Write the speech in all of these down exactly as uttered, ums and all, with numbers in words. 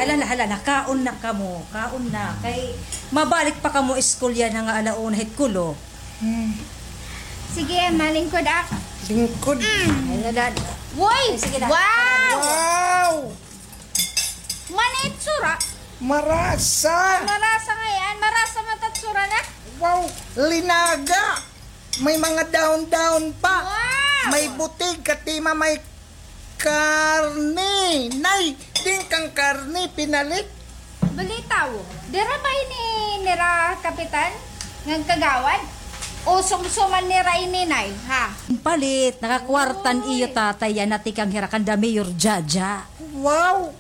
Hala, hala, nakaon na kamo. Kaon na. Kay mabalik pa kamo school yana nga ala una hit kulo. Hmm. Sige, malingkod ak. Lingkod. Mm. Ay, hala. Woy! Ay, sige na. Wow! Wow! Manitsura. Marasa. Marasa ngay-an. Marasa man it itsura na. Wow! Linaga. May mga dahon-dahon pa. Wow! May butig, katima may karne. Nay, diin kan karne pinalit? Balitaw, dira ba ini nira kapitan ngan kagawad? O sumsuman nira ini, Nay, ha? Palit, nakakwarta an iyo tatay yana tikang hira kanda Mayor Jaja. Wow!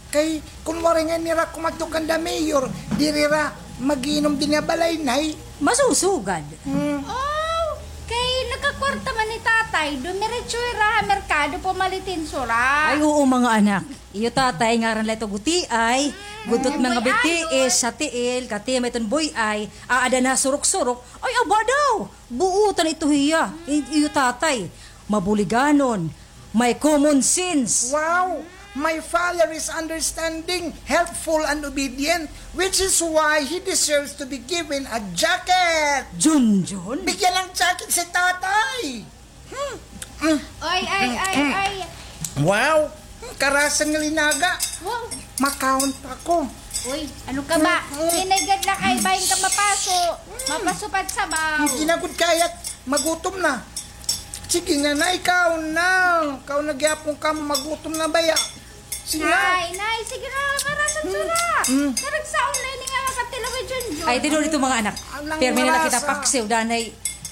Kay kun waray ngay-an nira kumadto kanda Mayor, diri hira mag-iinom dinhi ha balay, Nay. Masusugad. Hmm. Oh, kay nakakwarta man ni tatay, dumiretso hira ha merkado pumalit hin sura. Ay, oo, mga anak. Iyo tatay, ngaran la ito Gutiay. Guntot mga bitiis sa tiil, katima iton Boy-ay, aada na surok-surok. Ay, aba daw, buotan ito hiya. I-, iyo tatay, mabuliganon, may common sense. Wow! My father is understanding, helpful, and obedient, which is why he deserves to be given a jacket. Junjun? Bigyan ng jacket si tatay. Hmm. Mm. Oy, ay, ay, ay. Wow! Karasa nga linaga. Wow. Makaon pa ko. Uy, ano ka ba? Mm, mm. Hinay gad la kay bahin ka mapaso. Mm. Mapaso pa it sabaw. Hindi na gud kaya. Magutom na. Sige na, Nay, kaon na. Kaon na gihapon kamo, magutom na baya. Sige na. Nay, Nay, sige na, para sa tsura. Mm. Karagsaon na ini nga makatilaw kay Junjun. Ay, tinuod ito, mga anak. Pirmi na la kita paksiw, danay,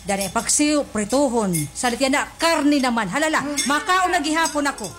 danay paksiw, prituhon. Salit yana, karne naman. Halala, makaon na gihapon ako.